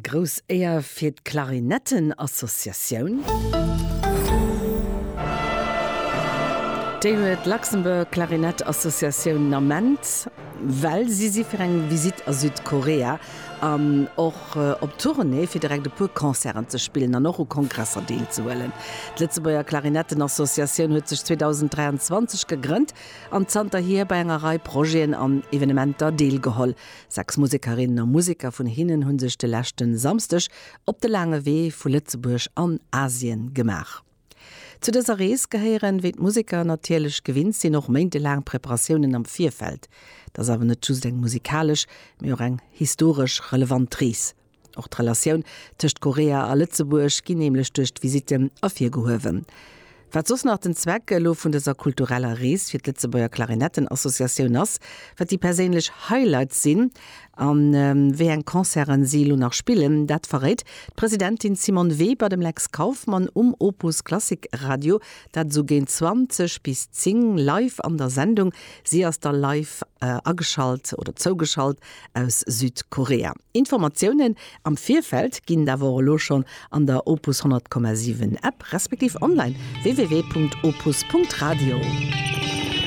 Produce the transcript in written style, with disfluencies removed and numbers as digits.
grouss Éier fir d'Klarinettenassociatioun. Déi huet d'Luxembourg Clarinette Associatioun den Ament, well si si fir eng Visitt a Südkorea an och op Tournée fir direkt e puer Concerten ze spillen an och u Kongresser deelzehuelen. D'Lëtzebuerger Klarinettenassociatioun huet sech 2023 gegrënnt an zanterhier bei enger Rei Projeten an Evenementer deelgeholl. 6 Musekerinnen a Museker vun hinnen hu sech de leschte Samsdeg op de laange Wee vu Lëtzebuerg an Asien gemaach. Zu dëser Rees gehéieren, wéi d'Museker natierlech gewinnt sinn, och méintelaang Preparatiounen am Virfeld. Et ass awer net just eng musikalesch, mee och eng historesch relevant Rees. Och d'Relatioun tëscht Korea a Lëtzebuerg ginn nämlech duerch d'Visitten ervirgehuewen. Wat soss nach den Zweck elo vun dëser kultureller Rees fir d'Lëtzebuerger Klarinettenassociatioun ass, wat déi perséinlech Highlights sinn a wéi eng Concerten si elo nach spillen, dat verréit d'Presidentin Simone Weber dem Lex Kauffmann um Opus Klassik Radio, dat esou géint 20 bis 10 live an der Sendung. Si ass da live ageschalt oder zougeschalt aus Südkorea. Informatiounen am Virfeld ginn et awer och elo schonn an der Opus 100,7 App respektiv online www.opus.radio.